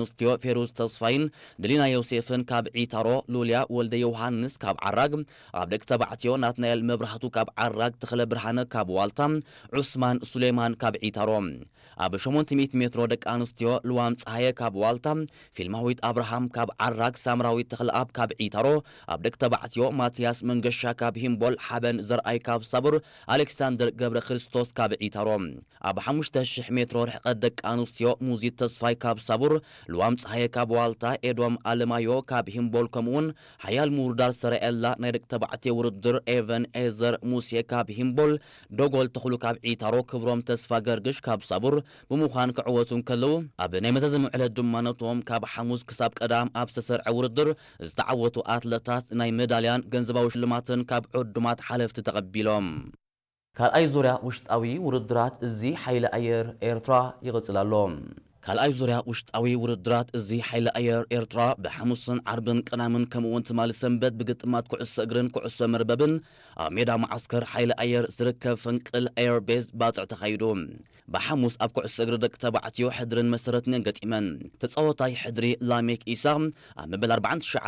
ኣንስትዮ ፌሩዝ ተስፋይን ድሊና ዮሴፍን ካብ ዒታሮ፣ ሉልያ ወልደ ዮሃንስ ካብ ዓራግ፣ ኣብ ደቂ ተባዕትዮ ናትናኤል መብራህቱ ካብ ዓራግ፣ ተኽለ ብርሃነ ካብ ዋልታ፣ ዑስማን ሱሌማን ካብ ዒታሮ። ኣብ ሸሞንተ ሚእቲ ሜትሮ ደቂ ኣንስትዮ ልዋም ፀሃየ ካብ ዋልታ፣ ፊልማዊት ኣብርሃም ካብ ዓራግ፣ ሳምራዊት ተኽለኣብ ካብ ዒታሮ፣ ኣብ ደቂ ተባዕትዮ ማትያስ መንገሻ ካብ ሂምቦል፣ ሓበን ዘርኣይ ካብ ሳቡር፣ ኣሌክሳንደር ገብረ ክርስቶስ ካብ ዒታሮ። ኣብ ሓሙሽተ ሽሕ ሜትሮ ርሕቀት ደቂ ኣንስትዮ ሙዚት ተስፋይ ካብ ሳቡር፣ ልዋም ፀሃየ ካብ ዋልታ፣ ኤዶም ኣለማዮ ካብ ሂምቦል፣ ከምኡውን ሓያል ምውርዳር ሰረኤላ ናይ ደቂ ተባዕትዮ ውድድር ኤቨን ኤዘር ሙሴ ካብ ሂምቦል፣ ዶጎል ተኽሉ ካብ ዒታሮ፣ ክብሮም ተስፋ ገርግሽ ካብ ሳቡር ብምዃን ክዕወቱ እንከለዉ፣ ኣብ ናይ መዛዘሚ ዕለት ድማ ነቶም ካብ ሓሙስ ክሳብ ቀዳም ኣብ ዝተሰርዐ ውድድር ዝተዓወቱ ኣትለታት ናይ መዳልያን ገንዘባዊ ሽልማትን ካብ ዕዱማት ሓለፍቲ ተቐቢሎም። ካልኣይ ዙርያ ውሽጣዊ ውድድራት እዚ ሓይሊ ኣየር ኤርትራ ይቕጽል ኣሎ። ካልኣይ ዙርያ ውሽጣዊ ውድድራት እዚ ሓይሊ ኣየር ኤርትራ ብሓሙስን ዓርብን ቅዳምን ከምኡውን ትማሊ ሰንበት ብግጥማት ኩዕሶ እግርን ኩዕሶ መርበብን ኣብ ሜዳ መዓስከር ሓይሊ ኣየር ዝርከብ ፈንቅል ኤር ቤዝ ባጽዕ ተኻይዱ። ብሓሙስ ኣብ ኩዕሶ እግሪ ደቂ ተባዕትዮ ሕድርን መሰረትን ገጢመን። ተጻዋታይ ሕድሪ ላሜክ ኢሳቕ ኣብ መበል ኣርባዓን ትሽዓተ